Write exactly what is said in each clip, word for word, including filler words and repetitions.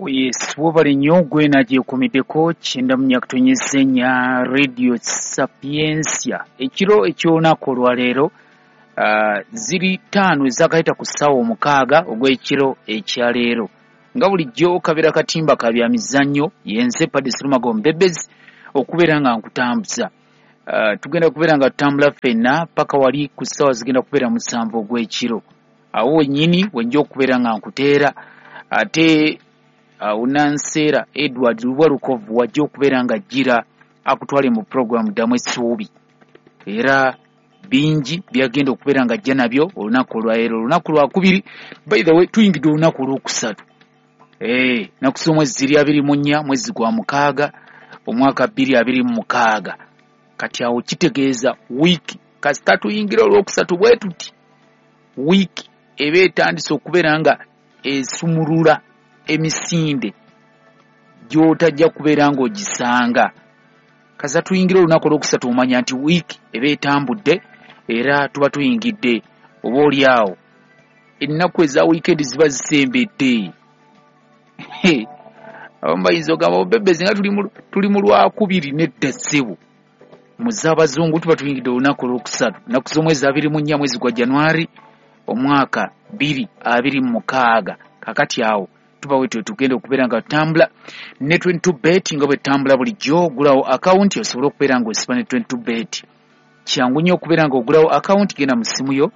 Yes, wobale nnyo gwe nagyekuumiddeko kyenda mu nnya katonyeze nnya Radio Sapientia. Ekiro eky'olunaku olwaleero uh, ziri ttaano ezakayita ku ssaawa omukaaga ogw'ekiro ekyaleero. Nga bulijjo kabeera katimba ka bya mizannyo, yenze Paddy Serumago Mbebezi okubeera nga nkutambuza. Uh, tugenda kubeera nga tutambula ffenna paka wali ku ssaawa zigenda kubeera musanvu ogw'ekiro. Awo wennyini wenja okubeera nga nkuteera, ate awo Nanseera Edward Lubwa Lukovu wajja okubeera nga ajjira akutwale mu pulogulaamu Ddamu Essuubi. Era bingi byagenda okubeera nga ajja nabyo olunaku olwaleero, olunaku lwakubiri. By the way, tuyingidde olunaku olwokusatu. Eh, nnaku z'omwezi ziri abiri mu nnya mwezi gwa mukaaga omwaka bbiri abiri mu mukaaga. Kati awo kitegeeza wiiki kasita tuyingira olwokusatu bwe tuti, wiiki eba etandise okubeera nga esumulula emisinde gy'otajja kubeera ng'ogisanga. Kasita tuyingira olunaku olwokusatu omanya nti wiiki eba etambudde, era tuba tuyingidde oba oli awo ennaku eza wiikendi ziba zisembedde. Abamu bayinza ogamba obebezi nga tuli mu lwakubiri, nedda ssebo. Mu z'abazungu tuba tuyingidde olunaku olwokusatu, nnaku z'omwezi abiri mu nnya mwezi gwa Januari omwaka bbiri abiri mu mukaaga. Kakati awo tuba wetwe tugenda okubeera nga tutambula ne twenty-two bet nga bwe tutambula bulijjo. Ogulawo akawunti osobole okubeera ng'osiba ne twenty-two bet. Kyangu nnyo okubeera ng'ogulawo akawunti, genda mu ssimu yo,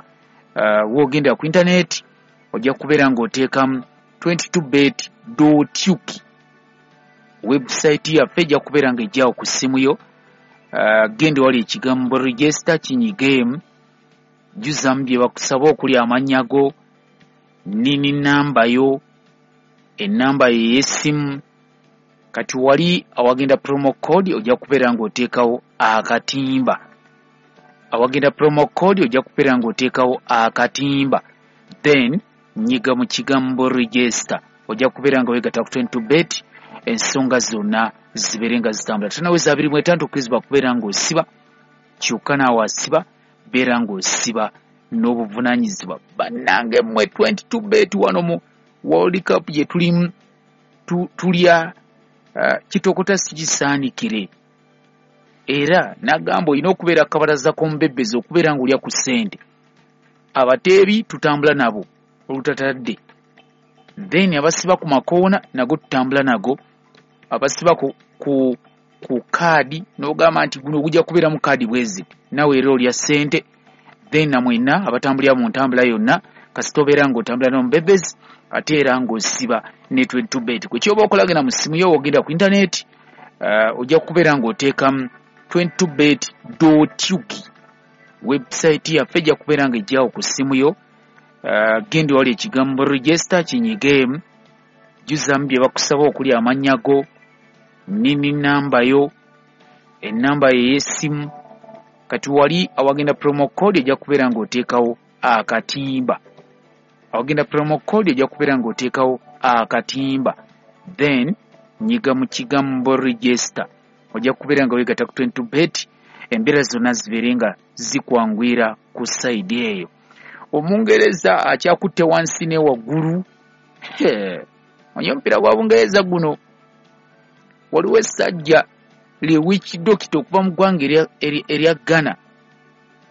uh, w'ogenda ku intaneti ojja kubeera ng'oteekamu twenty-two bet dot uk. Website yaffe ejja kubeera ng'ejjawo ku ssimu yo. Uh, genda wali ekigambo register kinyigeemu, jjuzamu bye bakusaba okuli amannya go, nini namba yo, ennamba ye ey'essimu. Kati wali awagenda promo code ojja kubeera ng'oteekawo akatimba. Awagenda promo code ojja kubeera ng'oteekawo akatimba, then nyiga mu kigambo register, ojja kubeera nga weegatta ku twenty-two bet, ensonga zonna zibeere nga zitambula. Tanaweza abiri mu etaano tokkirizibwa kubeera ng'osiba, kyokka naawe asiba beera ng'osiba n'obuvunaanyizibwa. Bannange mmwe twenty-two bet wano mu World Cup gye tulimu tulya uh, kitokota sigisaanikire. Era nagamba olina okubeera akabalaza k'omubebezi okubeera ng'olya ku ssente. Abateebi tutambula nabo olutatadde, then abasiba ku makoona nago tutambula nago, abasiba ku, ku, ku kaadi n'ogamba nti guno gujja kubeeramu kaadi bwezi, nawe era olya ssente. Then namwenna abatambulira mu ntambula yonna kasita obeera ng'otambula n'omubebezi ate era ng'osiba ne twenty-two bet. Kwe kyoba okola, genda mu ssimu yo ogenda ku intaneti, uh, ojja kubeera ng'oteekamu twenty-two bet dot uk. Website yaffe ejja kubeera ng'ejjawo ku ssimu yo. Uh, genda wali ekigambo register kinyigeemu, jjuzamu bye bakusaba okuli amannya go, nini namba yo, ennamba ye ey'essimu. Kati wali awagenda promo code ojja kubeera ng'oteekawo akatimba. Awagenda promo code ojja kubeera ng'oteekawo akatimba, then nyiga mu kigambo register, ojja kubeera nga weegatta ku twenty-two bet, embeera zonna zibeere nga zikwanguyira ku sayidi eyo. Omungereza akyakutte wansi ne waggulu. Omanyi omupiira gwa Bungereza guno, waliwo essajja li witch doctor okuva mu ggwanga erya Ghana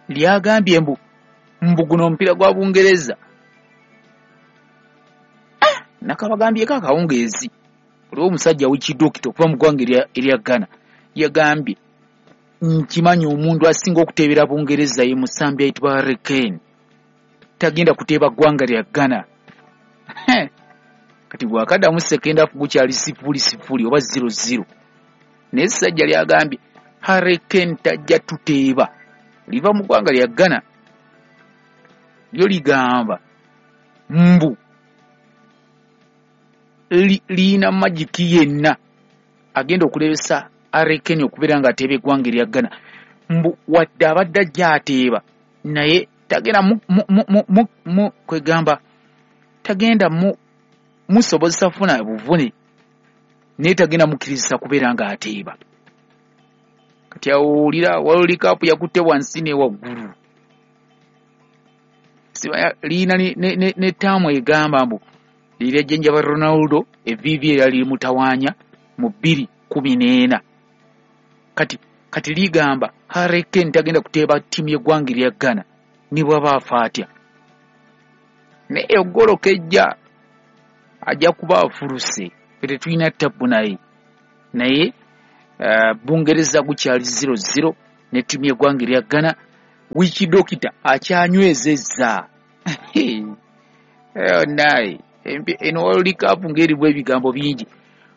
lyagambye mbu mbu guno omupiira gwa Bungereza. Ah, nakabagambyeko akawungeezi. Waliwo omusajja witch doctor okuva mu ggwanga erya Ghana yagambye nkimanyi omuntu asinga okuteebera Bungereza ye musambi ayitibwa Harry Kane, tagenda kuteeba ggwanga lya Ghana. Kati bw'akaddamu second half gukyali sifuli sifuli oba zero zero, naye essajja lyagambye Harry Kane tajja tuteeba, liva mu ggwanga lya Ghana. Lyo ligamba mbu liyina magiki yenna agenda okulebesa Harry Kane okubeera ng'ateeba eggwanga erya Ghana, mbu wadde abadde ajja ateeba naye tagenda mu, mu, mu, mu, mu kwegamba tagenda mu musobozesa funa buvune, naye tagenda mukkirizisa kubeera ng'ateeba. Kati awulira World Cup yakutte wansi ne waggulu. Liyina ne, ne, ne, ne taamu egamba mbu Lirya jjenjaba Ronaldo evviivi eryali limutawaanya mu bbiri kkumi n'ena. Kati kati ligamba Harry Kane tagenda kuteeba ttiimu y'eggwanga erya Ghana ne bw'aba afa atya. Naye eggolo kejja ajja kuba afuluse, ffe tetulina ttabbu naye. Naye uh, Bungereza gukyali zero zero ne ttiimu y'eggwanga erya Ghana. Wiki dokita akyanywezezza. Naye eno World Cup ng'erimu ebigambo bingi.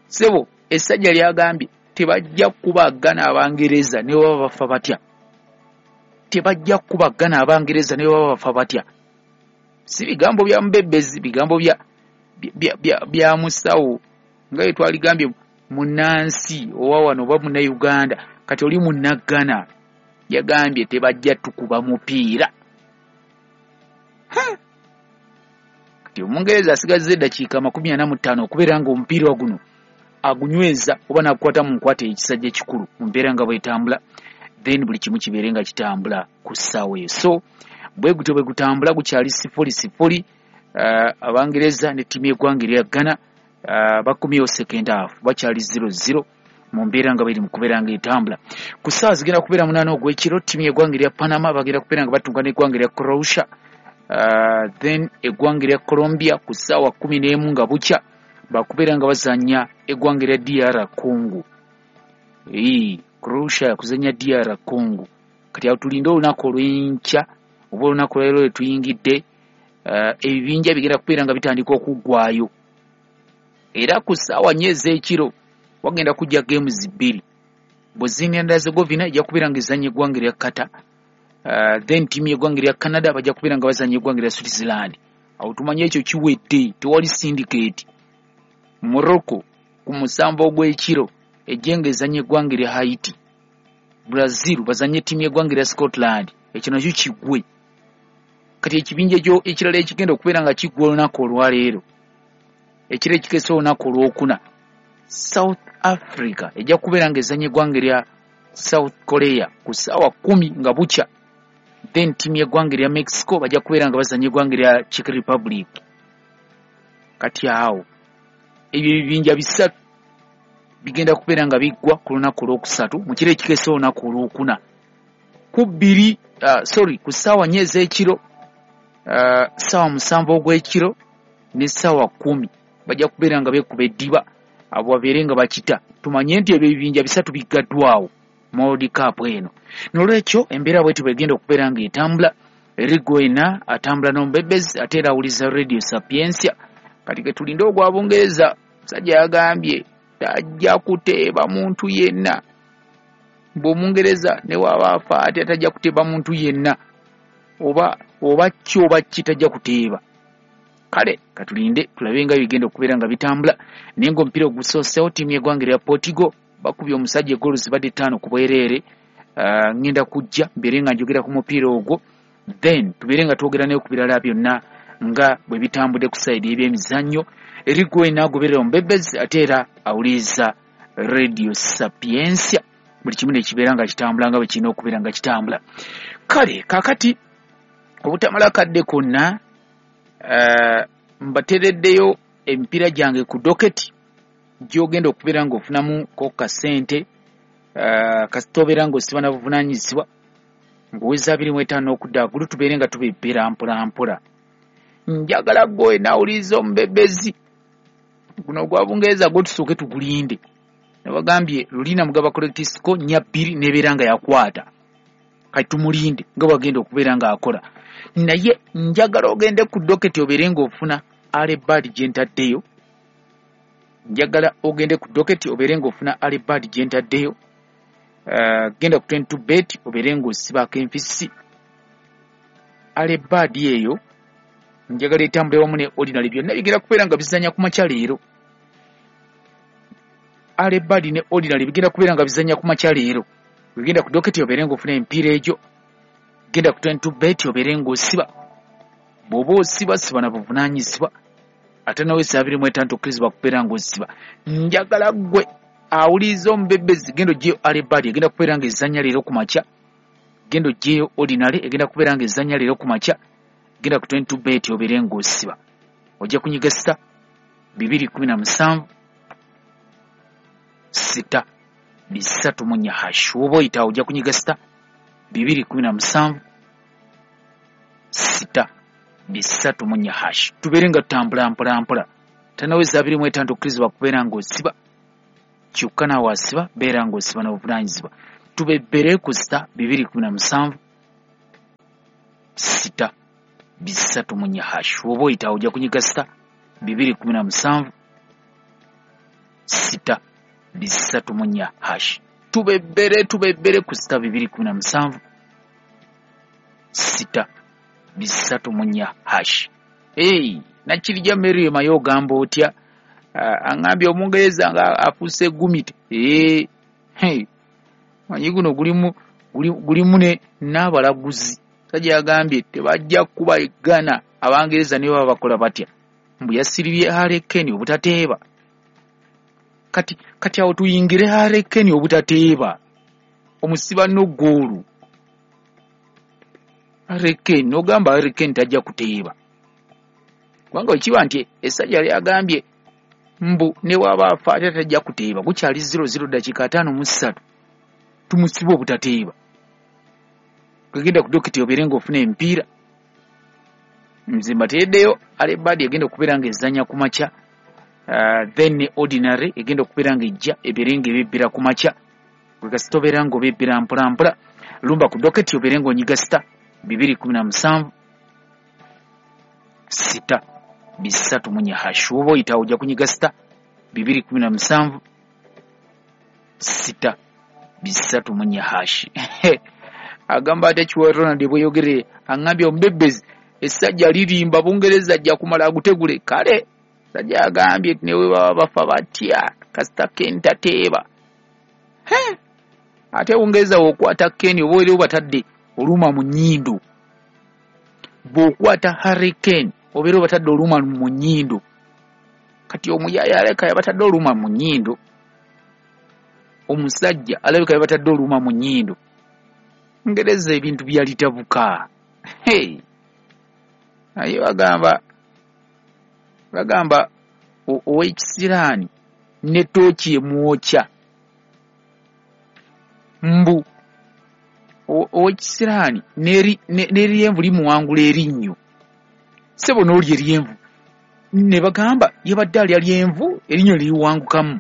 Ssebo essajja lyagambye tebajja kukuba Ghana Abangereza ne baba bafa batya. Tebajja kukuba Ghana Abangereza ne baba bafa batya. Si bigambo bya mubebezi, bigambo bya bya bya, bya musawo nga bwe twaligambye munnansi owa wano oba Munnayuganda, kati oli Munnaggana yagambye tebajja tukuba mupiira. Kati Omungereza asigazza eddakiika makumi ana mu ttaano okubeera ng'omupiira guno agunyweza oba n'agukwata mu nkwata ekisajja ekikulu mu mbeera nga bw'etambula, then buli kimu kibeere nga kitambula ku ssaawa eyo. So bwe gutyo bwe gutambula gukyali sifuli sifuli. Uh, Abangereza ne ttiimu y'eggwanga erya Ghana uh, bakomyewo second half bakyali zero zero mu mbeera nga bweri mu kubeera nga etambula. Ku ssaawa zigenda kubeera munaana ogw'ekiro ttiimu y'eggwanga erya Panama bagenda kubeera nga batunga n'eggwanga erya Croatia. Uh, then eggwanga erya Colombia ku ssaawa kkumi n'emu nga bukya bakubeera nga bazannya eggwanga erya D R Congo. Ee, Croatia yakuzannya D R Congo. Kati awo tulinde olunaku olw'enkya oba olunaku olwaleero lwe tuyingidde, uh, ebibinja bigenda kubeera nga bitandika okuggwayo. Era ku ssaawa nnya ez'ekiro wagenda kujja games bbiri. Bosnia and Herzegovina ejja kubeera nga ezannya eggwanga erya Qatar. Uh, then ttiimu y'eggwanga erya Canada bajja kubeera nga bazannya eggwanga erya Switzerland. Awo tumanye ekyo kiwedde, tewali syndicate. Morocco ku musanvu ogw'ekiro ejje nga ezannya eggwanga erya Haiti. Brazil bazannye ttiimu y'eggwanga erya Scotland, ekyo nakyo kiggwe. Kati ekibinja ekyo ekirala ekigenda okubeera nga kiggwa olunaku olwaleero, ekiro ekikeesa olunaku olwokuna, South Africa ejja kubeera nga ezannya eggwanga erya South Korea ku ssaawa kkumi nga bukya. Then ttiimu y'eggwanga erya Mexico bajja kubeera nga bazannya eggwanga erya Czech Republic. Kati awo ebyo ebibinja bisatu bigenda kubeera nga biggwa ku lunaku olwokusatu mu kiro ekikeesa olunaku olwokuna ku bbiri, uh, sorry ku ssaawa nnya ez'ekiro, uh, ssaawa musanvu ogw'ekiro ne ssaawa kkumi bajja kubeera nga beekuba eddiba, abo babeere nga bakita. Tumanye nti ebyo ebibinja bisatu biggaddwawo mu World Cup eno. N'olwekyo embeera bw'etyo bw'egenda okubeera ng'etambula. Erigo ena atambula n'omubebezi ate era awuliza Radio Sapientia. Kati ke tulinde ogwa Bungereza, musajja yagambye tajja kuteeba muntu yenna. Bw'Omungereza ne bw'aba afa atya tajja kuteeba muntu yenna, oba oba ki oba ki tajja kuteeba. Kale katulinde tulabe nga bigenda okubeera nga bitambula. Naye ng'omupiira ogusooseewo ttiimu y'eggwanga erya Portugal bakubye omusajja eggoolo zibadde ttaano ku bwereere. Uh, ngenda kujja mbeere nga njogera ku mupiira ogwo, then tubeere nga twogera naye ku birala byonna nga bwe bitambudde ku sayidi y'ebyemizannyo. Erigo ena agoberera omubebezi ate era awuliriza Radio Sapientia. Buli kimu ne kibeera nga kitambula nga bwe kirina okubeera nga kitambula. Kale kaakati obutamala kadde konna, uh, mbatereddeyo emipiira gyange ku doketi gy'ogenda okubeera ng'ofunamu ko kasente, uh, kasita obeera ng'osiba na buvunaanyizibwa ng'oweza abiri mu etaano okudda waggulu, tubeere nga tubebbera mpola mpola. Njagala ggwe naawuliriza omubebezi guno ogwa Bungereza gwo tusooke tugulinde. Nabagambye lulina mugaba correct score nnya bbiri n'ebeera nga yakwata. Kati tumulinde nga bw'agenda okubeera ng'akola. Naye njagala ogende ku doketi obeere ng'ofuna alebad gye ntaddeyo. Njagala ogende ku doketi obeere ng'ofuna alebad gye ntaddeyo. Uh, genda ku twenty-two bet obeere ng'osibako enfisi. Alebad eyo njagala etambule wamu ne ordinary byonna bigenda kubeera nga bizannya ku makya leero. Alebad ne ordinary bigenda kubeera nga bizannya ku makya leero. Genda ku doketi obeere ng'ofuna emipiira egyo. Genda ku twenty-two bet obeere ng'osiba. Bw'oba osiba siba na buvunaanyizibwa. Ate nawe abiri mu etaano tokkirizibwa kubeera ng'osiba. Njagala ggwe awuliriza omubebezi genda oggyeyo alebad egenda kubeera ng'ezannya leero ku makya. Genda oggyeyo ordinary egenda kubeera ng'ezannya leero ku makya. Genda ku twenty-two bet obeere ng'osiba. Ojja kunyiga star bibiri kumi na musanvu sita bisatu mu nnya hash. Woba oyitawo ojja kunyiga sita bibiri kumi na musanvu sita bisatu mu nnya hash. Tubeere nga tutambula mpola mpola. Tanaweza abiri mu etaano okkirizibwa kubeera ng'osiba, kyokka naawe asiba beera ng'osiba n'obuvunaanyizibwa. Tubebbere ku sita bibiri kumi na musanvu sita bisatu mu nnya hash. Woba oyitawo ojja kunyiga sita bibiri kumi na musanvu sita bisatu mu nnya hash. Tubebbere tubebbere ku sita bibiri kumi na musanvu sita bisatu mu nnya hash. Hey, Nakirija Mary Mayo ogamba otya? Uh, aŋŋambye Omungereza nga afuuse gumite. Ee, hey, manyi guno gulimu gulimu ne n'abalaguzi. Sajja yagambye tebajja kuba Ghana Abangereza ne baba bakola batya. Mbu yasiribye Harry Kane obutateeba. Kati kati awo tuyingire Harry Kane obutateeba. Omusiba no goolu. Harry Kane n'ogamba Harry Kane tajja kuteeba. Kubanga ekiba nti essajja lyagambye mbu ne waba afa ate tajja kuteeba, gukyali zero zero dakiika ataano mu ssatu tumusiba obutateeba. Genda ku dokiti obeere ng'ofuna emipiira. Nze mbateeddeyo Alebadi egenda okubeera ng'ezannya ku makya, uh, then Ordinary egenda okubeera ng'ejja ebeere ng'ebebbera ku makya. Gwe kasita obeera ng'obebbera mpola mpola, lumba ku dokiti obeere ng'onyiga sita bibiri kumi na musanvu sita bisatu mu nnya hash. Woba oyitawo ojja kunyiga sita bibiri kumi na musanvu sita bisatu mu nnya hash. Agamba ate Kiwa Ronald bweyogere aŋŋambye omubebbezi essajja lirimba Bungereza ajja kumala agutegule. Kale sajja agambye ne we baba bafa batya kasita Kane tateeba. Ate Bungereza w'okwata Kane oba era obatadde oluma mu nnyindo. Bw'okwata Harry Kane obeera obatadde oluma mu nnyindo. Kati omuyaaye alabika yabatadde oluma mu nnyindo. Omusajja alabika yabatadde oluma mu nnyindo. Ngereza ebintu byalitabuka. Hey. Naye bagamba bagamba ow'ekisiraani ne tooki emwokya. Mbu ow'ekisiraani n'eryenvu limuwangula erinnyo. Ssebo n'olya eryenvu. Ne bagamba yabadde alya lyenvu erinnyo liriwangukamu.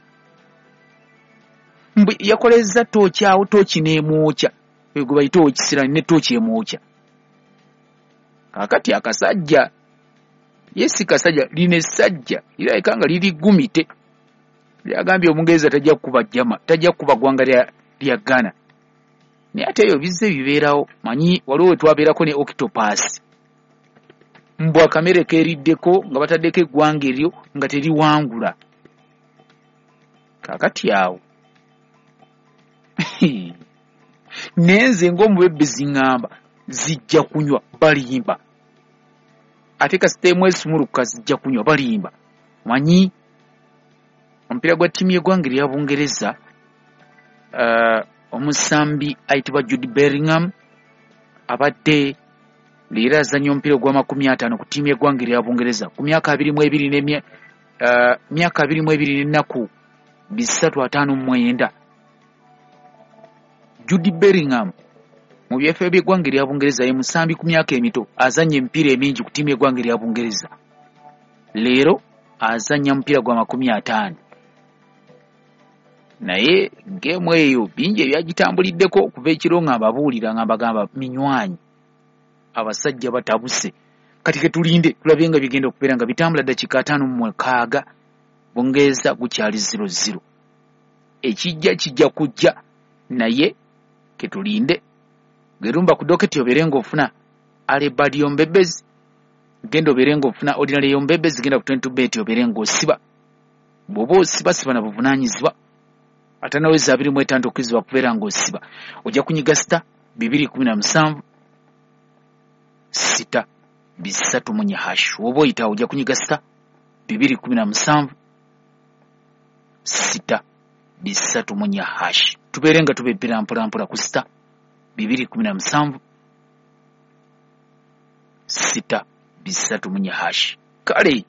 Mbu yakolezza tooki awo tooki n'emwokya. Gwe bayita ow'ekisiraani ne tooki emwokya. Kaakati akasajja ye si kasajja, lino essajja lirabika nga liri gumite. Lyagambye Omungereza tajja kukuba jjama, tajja kukuba ggwanga lya lya Ghana. Naye ate ebyo bizze bibeerawo. Manyi waliwo we twabeerako ne Octopus. Mbu akamere keeriddeko nga bataddeko eggwanga eryo nga teriwangula. Kaakati awo naye nze ng'omubebbezi ŋŋamba zijja kunywa balimba. Ate kasita emu esumulukuka zijja kunywa balimba. Manyi omupiira gwa ttiimu y'eggwanga erya Bungereza, uh, omusambi ayitibwa Jude Bellingham abadde leero azannya omupiira ogw'amakumi ataano ku ttiimu y'eggwanga erya Bungereza ku myaka abiri mu ebiri n'emya uh, myaka abiri mu ebiri n'ennaku bisatu ataano mu mwenda. Jude Bellingham mu byafaayo by'eggwanga erya Bungereza ye musambi ku myaka emito azannya emipiira emingi ku ttiimu y'eggwanga erya Bungereza. Leero azannya mupiira gwa makumi ataano. Naye geemu eyo bingi ebyagitambuliddeko okuva ekiro nga mbabuulira nga mbagamba minywanyi abasajja batabuse. Kati ke tulinde tulabe nga bigenda okubeera nga bitambula ddakiika ataano mu mukaaga Bungereza gukyali zero zero. Ekijja kijja kujja naye ke tulinde. Gerumba ku doketi obeere ng'ofuna Alebadi y'omubebbezi, genda obeere ng'ofuna Ordinary y'omubebbezi, genda ku twenty bet obeere ng'osiba. Bw'oba osiba siba na buvunaanyizibwa. Atanaweza abiri mu etaano okkirizibwa kubeera ng'osiba. Ojja kunyiga sita bibiri kumi na musanvu sita bisatu mu nnya hash. Woba oyitawo ojja kunyiga sita bibiri kumi na musanvu sita bisatu mu nnya hash. Tubeere nga tubebbera mpola mpola ku sita bibiri kumi na musanvu sita bisatu mu nnya hash. Kale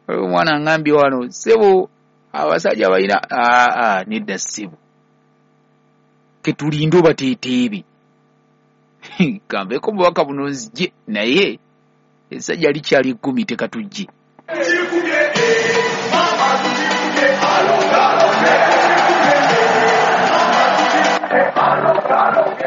Omwana ngambye wano ssebo abasajja balina aa nedda ssebo, ketulinde obateeteebe. Kambeeko bubaka buno nzije, naye essajja likyali ekkumi tekatujje.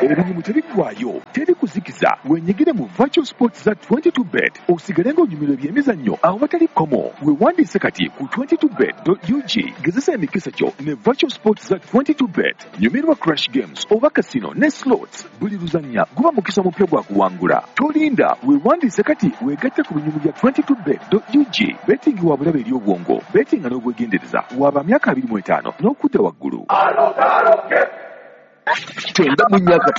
Ebinyumu tebiggwaayo, teri kuzikiza. Wenyigire mu Virtual Sports za twenty-two bet osigale ng'onyumirwa ebyemizannyo awatali kkomo. Weewandiise kati ku twenty-two bet dot U G. Gezesa emikisa gyo ne Virtual Sports za twenty-two bet. Nyumirwa Crash Games oba casino ne slots. Buli luzannya guba mukisa mupya gwa kuwangula. Tolinda, weewandiise kati weegatte ku binyumu bya twenty-two bet dot U G. Betting wa bulabe eri obwongo, bettinga n'obwegendereza. Waba myaka abiri mu etaano n'okudda waggulu. Kyenda mu myaka